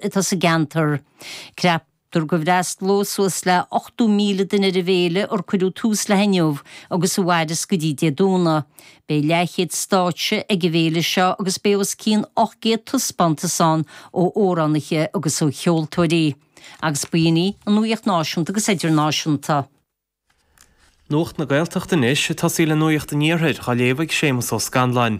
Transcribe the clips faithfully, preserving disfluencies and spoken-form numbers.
atá sa gceantar. Ceaptar go bhfreastalóidh suas le ochtó míle duine ar an bhféile ar cuireadh tús léi inniu agus a mhairfeas go dtí Dé Domhnaigh. Beidh leathchéad stáitse ag an bhféile seo agus beidh os cionn ocht gcéad taispeántas ann ó amhránaithe agus ó cheoltóirí. Agus b'in í an nuacht náisiúnta agus idirnáisiúnta. Nuacht na Gaeltachta anois ag tosaí le nuacht an Iarthair á léamh ag Séamus Ó Scanláin.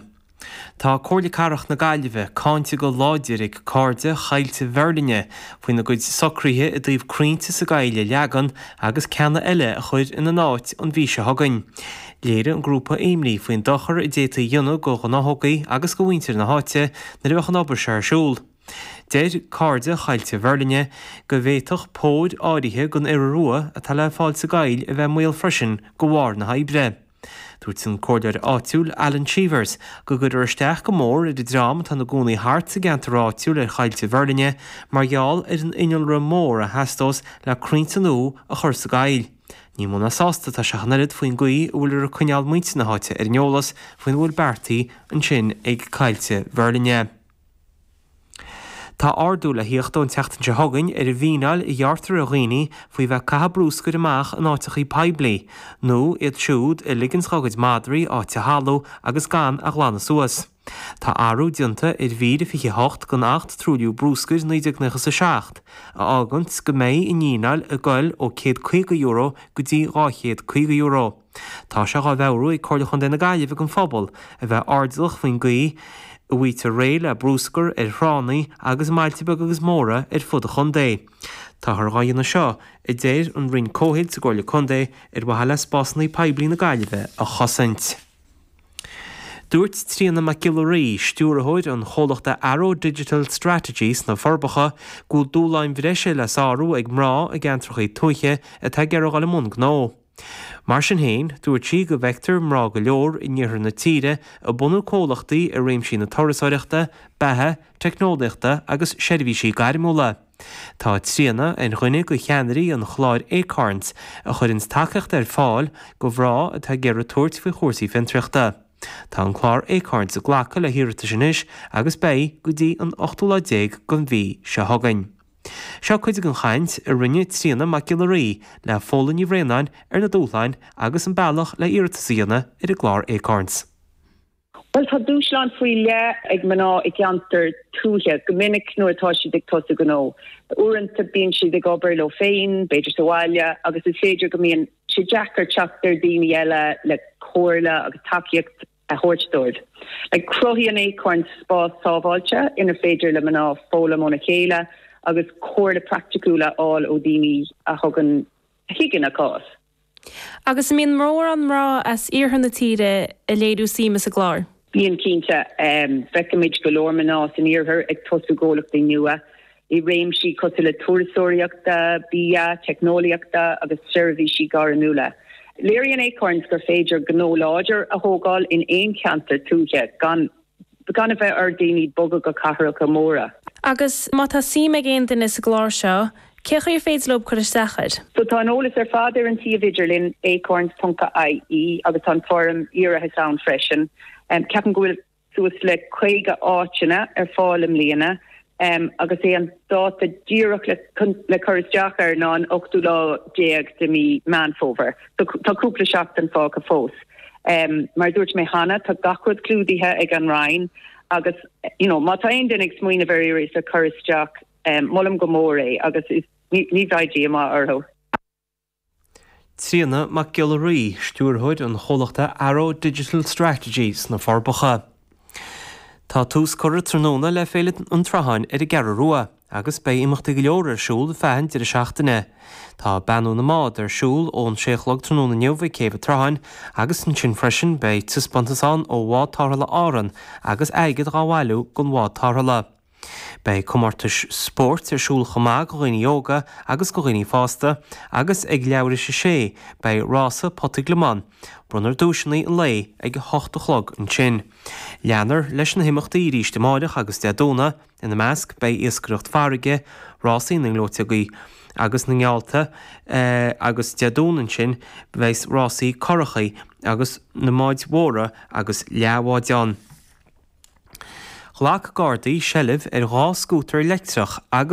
Tá Comhairle Cathrach na Gaillimhe cáinte go láidir ag Cairde Choillte Mheirlinne faoina gcuid socruithe i dtaobh crainnte sa gcoill a leagan agus ceanna eile a chur ina n-áit an mhí seo chugainn. Léirigh an grúpa imní faoin dochar a d'fhéadfaí a dhéanamh do ghnáthóga agus do mhuintir na háite nuair a bheadh an obair seo ar siúl. Deir Cairde Choillte Mheirlinne go bhféadfadh póir áirithe den iora rua atá le fáil sa gcoill a bheith i mbaol freisin de bharr na hoibre. Dúirt an comhairleoir áitiúil Alan Cheevers go gcuirfear isteach go mór ar an dream atá ina gcónaí thart sa gceantar áitiúil ar Choillte Mheirlinne mar gheall ar an innealra mór a theastós le crainnte nua a chur sa gcoill. Ní mó ná sásta atá sé ach an oiread faoin gcaoi a bhfuiltear ag coinneáil muintir na háite ar an eolas faoina bhfuil beartaithe ansin ag Coillte Mheirlinne. Tá ardú le theacht ón tseachtain seo chugainn ar an bhfíneáil a ghearrtar ar dhaoine faoi bheith ag caitheamh bruscair amach in áiteachaí poiblí, nó iad siúd a ligeanns dá gcuid madraí áit a shalú agus gan a ghlanadh suas. Tá athrú déanta ar mhír a fiche a hocht den Acht Truailliú Bruscair naoi déag nócha is a seacht, a fháganns go mbeidh an fhíneáil ag goil ó céad caoga euro go dtí dhá chéad caoga euro. Tá sé dhá mheabhrú ag Comhairle Chontae na Gaillimhe don phobal a bheith airdeallach faoin gcaoi a bhfaightear réidh le bruscar ar thránna agus i mbailte beaga agus móra ar fud an chontae. Táthar dhá dhéanamh seo, a deir an Roinn Comhshaoil sa gComhairle Contae, ar mhaithe le spásanna poiblí na Gaillimhe a chosaint. Dúirt Tríona Mac Giolla Rí, stiúrthóir an chomhlachta Arrow Digital Strategy sna Forbacha, go bhfuil dúshláin bhreise le sárú ag mná i gceantracha tuaithe atá ag iarraidh dul i mbun gnó. Mar sin féin, dúirt sí go bhfeictear mná go leor in iarthar na tíre ag bunú comhlachtaí i réimsí na turasóireachta, beatha, teicneolaíochta agus seirbhísí gairmiúla. Tá Tríona ar dhuine de cheannairí an chláir Acorns a chuireann tacaíocht ar fáil do mhná atá ag iarraidh tabhairt faoi chúrsaí fiontraíochta. Tá an clár Acorns ag glacadh le hiarratais anois agus beidh go dtí an ochtú lá déag den mhí seo chugainn. Seo cuid den chaint a rinne Tríona Mac Giolla Rí le Fódhla Ní Bhraonáin ar na dúshláin agus an bealach le iarratas a dhéanamh ar an gclár Acorns. Well tá dúshlán faoi leith ag mná i gceantar tuaithe go minic nuair atá siad ag tosú gnó. Uaireanta bíonn siad ag obair leo féin, b'fhéidir sa bhaile, agus is féidir go mbíonn sé deacair teacht ar daoine eile le comhairle agus tacaíocht a thabhairt dóibh. Like cruthaíonn Acorns spás sábháilte inar féidir le mná foghlaim óna chéile agus comhairle praiticiúil a fháil ó daoine a thugann a thuigeann a cás. Agus an mbíonn mórán mná as iarthar na tíre ag léiriú suime sa gclár. Bíonn cinnte um, feicimid go leor mná san iarthar ag tosú gnólachtaí nua i réimsí cosúil le turasóireachta, bia, teicneolaíochta agus seirbhísí gairmiúla. Léiríonn Acorns gur féidir gnó láidir a thógáil in aon cheantar tuaithe gan gan a bheith ar daoine bogadh go cathracha móra. Agus má tá suim ag aon duine sa gclár seo, cé chaoi ar féidir leo cur isteach air? So tá an eolas ar fad ar an suíomh idirlín acorns.ie agus tá an foirm iarratais ann freisin. Um, ceapaim go bhfuil suas le caoga áiteanna ar fáil i mbliana um, agus é an dáta díreach le, le cur isteach air ná an ochtú lá déag de mí Meán Fómhair. So, tá cúpla seachtain fágtha fós. Um, mar dúirt mé cheana tá gach rud clúdaithe ag an Roinn agus you know, má tá aon duine ag smaoineamh ar iarratas a chur isteach um, molaim go mór é agus is, ní, ní bheidh díomá orthu. Tríona Mac Giolla Rí, stiúrthóir an chomhlachta Arrow Digital Strategy sna Forbacha. Tá tús curtha tráthnóna le Féile an tSrutháin ar an gCeathrú Rua, agus beidh imeachtaí go leor ar siúl feadh an deireadh seachtaine. Tá beannú na mbád ar siúl ón sé a chlog tráthnóna inniu ag Céibh an tSrutháin, agus ansin freisin beidh taispeántas ann ó bhád tarrthála Árann agus airgead dhá bhailiú don bhád tarrthála. Beidh comórtais spóirt ar siúl chomh maith do dhaoine óga agus do dhaoine fásta, agus ag leathuair tar éis a sé beidh rása pota gliomán. Bronnfar duaiseanna an lae ag a hocht a chlog ansin. Leanfar leis na himeachtaí arís amárach agus Dé Domhnaigh, ina measc beidh iascaireacht farraige, rásaí na ngleoiteogaí agus na ngeallta agus Dé Domhnaigh ansin beidh rásaí curachaí agus na mbáid mhóra agus leathbháid ann. Ghlac Gardaí seilbh ar dhá scútar leictreach agus